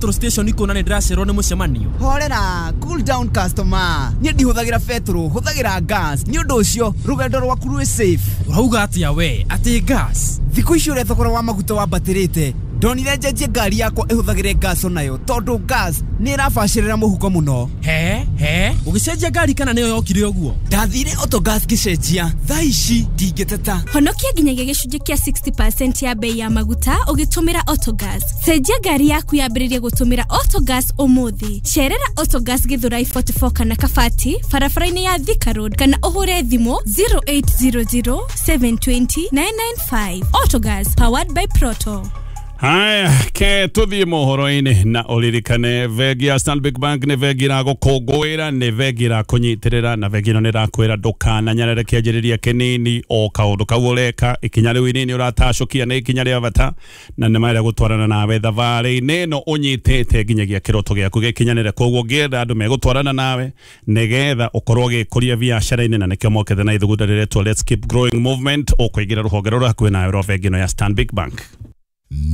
Petrol station ikona nĩ ndĩracerwo nĩ mũcemanio. Horera, cool down customer. Niĩ ndihũthagĩra betũrũ, hũthagĩra gas. Nĩ ũndũ ũcio rũgendo rwaku rwĩ safe. Ũrauga atĩa we? Atĩ gas? Thikũ ici ũrĩa thogora wa maguta wambatĩrĩte, ndonire njenjie ngari yakwa ĩhũthagĩre gas onayo tondũ gas nĩ ĩrabacĩrĩra mũhuko mũno. He he, ũgĩcenjia ngari kana nĩyo yokire ũguo? Ndathire Autogas ngĩcenjia. Thaa ici ndingĩteta. Honokia nginyagia gĩcunjĩ kĩa 60% ya bei ya maguta ũgĩtũmĩra Autogas. Cenjia ngari yaku yambĩrĩrie gũtũmĩra Autogas ũmũthĩ. Cerera Autogas Githurai 44 kana Kabati barabara-inĩ ya Thika Road kana ũhũre thimũ 0800 720 995. Autogas, powered by Proto. Haya, ke tuthiĩ mohoro-inĩ na ũririkane bengi ya Stanbic Bank nĩ bengi ĩragũkũngũĩra, nĩ bengi ĩrakũnyitĩrĩra, na bengi ĩno nĩ ĩrakwĩra ndũkananyarare kĩanjĩrĩria kĩnini o kaũndũ kau ũreka. Ikinya rĩu inini ũratacũkia nĩ ikinya rĩa bata na nĩ marĩa gũtwarana nawe thabarĩ-inĩ ĩno ũnyitĩte nginyagia kĩroto gĩaku gĩkinyanĩre. Koguo ũngĩenda andũ megũtwarana nawe nĩgetha ũkorwo ũgĩkũria biacara-inĩ, na nĩkĩo mokĩte na ithugunda rĩretwo Let's Keep Growing Movement, ũkũingĩra rũhonge rũrĩa hakuhĩ nawe rwa bengi ĩno ya Stanbic Bank.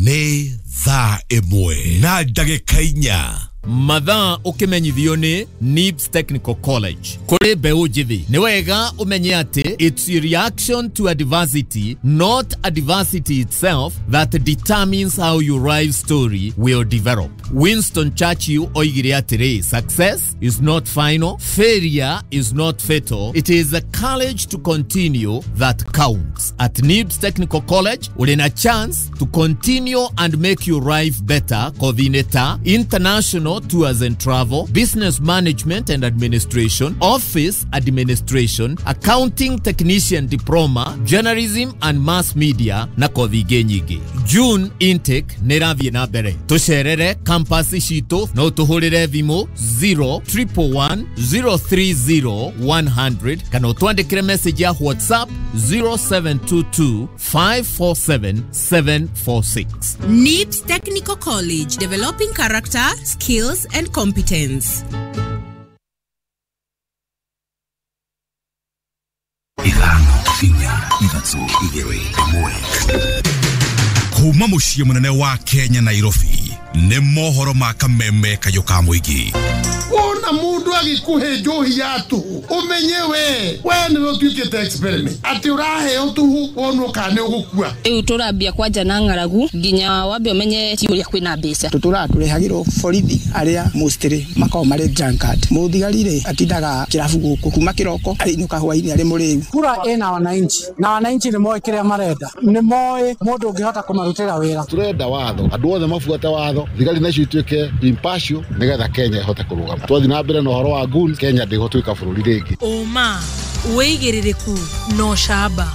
Nĩ thaa 1 na ndagĩka 4. Mathaa ũkĩmenyithio nĩ NIBS Technical College. Kũrĩ mbeũ njĩthĩ, nĩ wega ũmenye atĩ it's your reaction to adversity, not adversity itself, that determines how your life story will develop. Winston Churchill oigire atĩrĩ, success is not final, failure is not fatal, it is the courage to continue that counts. At NIBS Technical College, ũrĩ na chance to continue and make your life better. Kothi-inĩ ta international tours and travel, business management and administration, office administration, accounting technician diploma, journalism and mass media na kothi ingĩ nyingĩ. June intake nĩ ĩrathiĩ na mbere. Tũcerere campus citũ no tũhũrĩre thimũ 0 111 030 100 kana ũtwandĩkĩre message ya WhatsApp 0722 547 746. NIBS Technical College, developing character, skills, and competence. 5, 4, 3, 2, 1. Kuma mũciĩ mũnene wa Kenya, Nairobi, nĩ mohoro ma kameme kayũ ka mũingĩ. Wona mundu agikuhe njohi ya tuhu, umenye we niwe utuikite experiment ati uraheo tuhu wonwo kana ni ugukua. Rĩu tũrambia kwanja na ng'aragu nginya wambe ũmenye ti ũrĩa kwĩna mbeca. Tũtũraga tũrehagĩrwo borithi arĩa mostly makoragwo marĩ drunkard. Mũthigari rĩ atindaga kĩrabu gũkũ kuma kĩroko arĩinũka hwainĩ arĩ mũrĩu. Kura ĩna wananchi na wananchi nĩ moĩ kĩrĩa marenda, nĩ moĩ mũndũ ũngĩhota kũmarutĩra wĩra. Turenda watho, andũ othe mabuate watho, thigari nacio ituĩke impartial nĩgetha Kenya ĩhote kũrũgama. Twathiĩ na mbere na ũhoro wa goons, Kenya ndĩgũtuĩka bũrũri rĩngĩ. Ũma, wĩigĩrĩrĩku na ũcamba.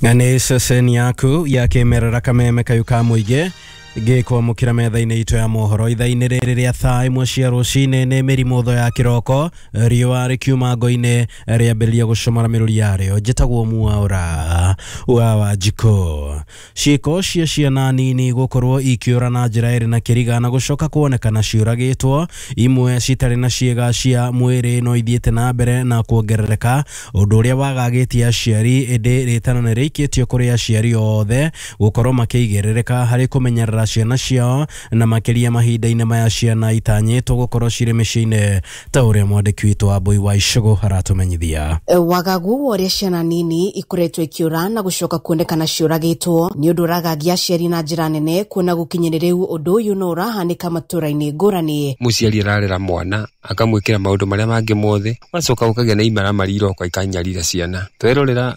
Na nĩ ceceni yaku ya kĩmerera kameme kayũ ka mũingĩ gĩkwamũkĩra metha-inĩ itũ ya mohoro ithaa-inĩ rĩrĩ rĩa thaa 1 cia rũcinĩ. Nĩ mĩrimũ tho ya kĩroko, riũa rĩkiuma ngo-inĩ rĩambĩrĩria gũcomora mĩrũri yarĩo. Njĩtagwo Mwaũra wa Wanjikũ. Ciĩko cia ciana nini gũkorwo ikĩũra na njĩra ĩrĩ na kĩriga na gũcoka kuonekana ciũragĩtwo, imwe citarĩ na ciĩga cia mwĩrĩ, no ithiĩte na mbere na kuongerereka, ũndũ ũrĩa wagagĩtie aciari. Ĩndĩ rĩtana nĩ rĩikĩtio kũrĩ aciari othe gũkorwo makĩigĩrĩrĩka harĩ kũmenyerera ciana ciao, na makĩria mahinda-inĩ maya ciana itanyĩtwo gũkorwo cirĩ mĩciĩ-inĩ, ta ũrĩa mwandĩki witũ wa Mbui wa Icũgũ aratũmenyithia. Wagagu wa ũrĩa ciana nini ikoretwo ikiũra na gũcoka kuonekana ciũragĩtwo nĩ ũndũ ũragagia aciari na njĩra nene, kuona gũkinyĩrĩ rĩu ũndũ ũyũ no ũrahanĩka matũra-inĩ ngũrani. Mũciari ararera mwana akamwĩkĩra maũndũ marĩa mangĩ mothe, ũgacoka ũkagĩa na imaramari iroka ikanyarira ciana. Twerorera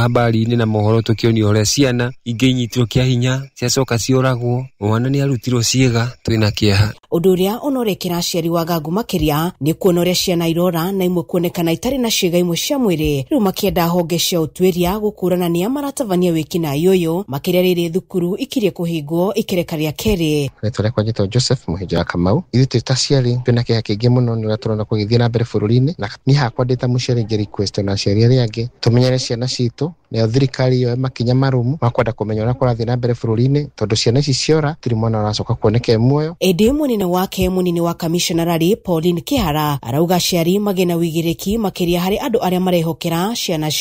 habari-inĩ na mohoro tũkĩonio ũrĩa ciana ingĩ inyitirwo kĩa hinya ciacoka cioragwo, mwana nĩ arutirwo ciĩga, twĩna kĩeha. Ũndũ ũrĩa ũnorekera aciari wagagu makĩria nĩ kuona ũrĩa ciana irora na imwe kuonekana itarĩ na ciĩga imwe cia mwĩrĩ, rĩu makĩenda honge cia ũtuĩria gũkũrana nĩa maratabania wĩkinaĩ ũyũ, makĩria rĩrĩ thukuru ikirie kũhingwo ikereka rĩa kerĩ. Rĩtwa rĩakwa njĩtagwo Joseph Mũhĩnja wa Kamau. Ithuĩ twĩ ta aciari twĩna kĩeha kĩingĩ mũno nĩ ũrĩa tũrona kũgĩthiĩ na mbere bũrũri-inĩ, na niĩ hakwa ndĩ ta mũciari ingĩ request na aciari arĩa angĩ tũmenyere ciana citũ Nayo thirikari yoe makinya marũmu ma kwenda kũmenya ũrĩa kũrathiĩ na mbere bũrũri-inĩ, tondũ ciana ici ciora tirĩ mwana ũracoka kuoneka e muoyo. Ĩndĩ mũnene wake mũnini wa kamishonarari Pauline Kihara arauga aciari magĩe na wĩigĩrĩki makĩria harĩ andũ arĩa marehokera ciana.